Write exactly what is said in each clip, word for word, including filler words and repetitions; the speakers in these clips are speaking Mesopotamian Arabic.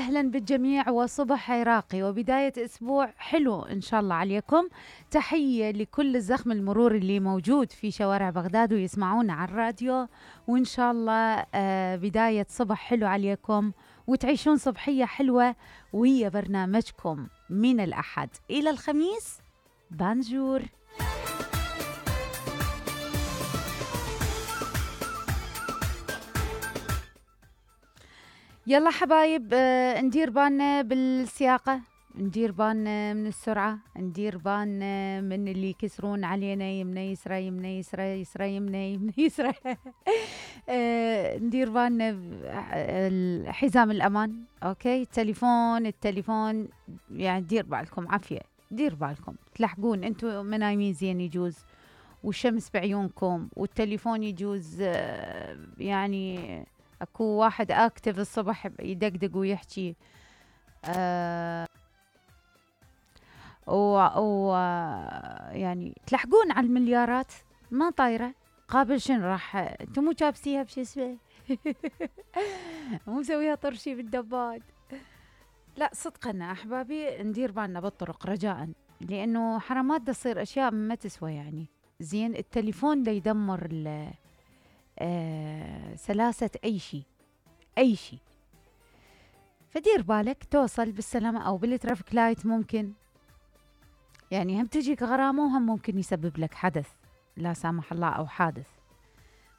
أهلا بالجميع وصبح عراقي وبداية أسبوع حلو إن شاء الله عليكم. تحية لكل الزخم المرور اللي موجود في شوارع بغداد ويسمعونا على الراديو، وإن شاء الله آه بداية صبح حلو عليكم وتعيشون صبحية حلوة، وهي برنامجكم من الأحد إلى الخميس. بانجور. يلا حبايب، آه ندير بالنا بالسياقة، ندير بالنا من السرعة، ندير بالنا من اللي يكسرون علينا يمنا يسرى يمنا يسرى يسرى يمنا يمنا يسرى. آه ندير بالنا حزام الأمان. أوكي، التليفون التليفون يعني دير بالكم عافية، دير بالكم تلحقون انتوا منايمين زين يجوز، والشمس بعيونكم والتليفون يجوز. آه يعني اكو واحد اكتف الصبح يدقدق ويحكي آه و, و يعني تلحقون على المليارات ما طايرة قابل شن راح انتم مو جابسيها بشي اسمه. مو مسويها طرشي بالدباد. لا صدقنا احبابي ندير بالنا بالطرق رجاء، لانه حرامات دا تصير اشياء ما تسوى. يعني زين التليفون دا يدمر آه سلاسة اي شيء اي شيء، فدير بالك توصل بالسلامة. او بالترافيك لايت ممكن يعني هم تجيك غرامة وهم ممكن يسبب لك حدث لا سامح الله او حادث.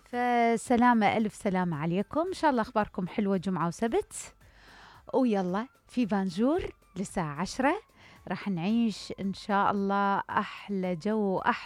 فسلامة، الف سلامة عليكم، ان شاء الله اخباركم حلوة جمعة وسبت. ويلا في بانجور للساعة عشرة راح نعيش ان شاء الله احلى جو واحلى